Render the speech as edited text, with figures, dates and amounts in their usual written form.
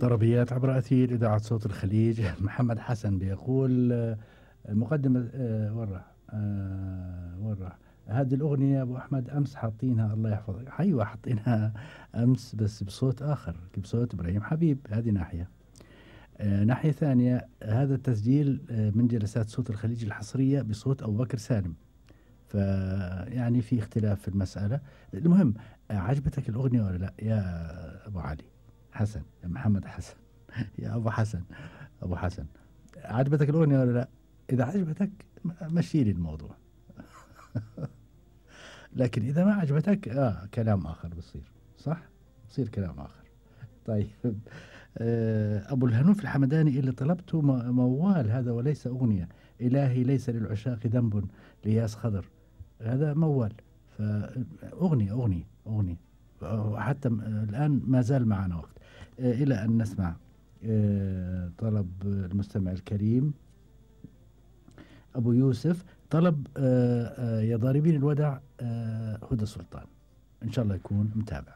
طربيات عبر أثير إذاعة صوت الخليج. محمد حسن بيقول مقدمة وين راح وين راح هذه الأغنية أبو أحمد أمس حاطينها الله يحفظك. أيوة حاطينها أمس بس بصوت آخر بصوت إبراهيم حبيب. هذه ناحية. ناحية ثانية هذا التسجيل من جلسات صوت الخليج الحصرية بصوت أبو بكر سالم. فيعني في اختلاف في المسألة. المهم عجبتك الأغنية ولا لا يا أبو علي حسن يا محمد حسن يا أبو حسن أبو حسن عجبتك الأغنية ولا لا؟ إذا عجبتك مشي لي الموضوع. لكن إذا ما عجبتك كلام آخر بصير صح؟ بصير كلام آخر. طيب أبو الهنوف الحمداني اللي طلبته موال هذا وليس أغنية. إلهي ليس للعشاق ذنب لياس خضر. هذا موال. فأغنية حتى الآن ما زال معنا وقت إلى أن نسمع طلب المستمع الكريم أبو يوسف طلب يا ضاربين الودع هدى سلطان. إن شاء الله يكون متابع.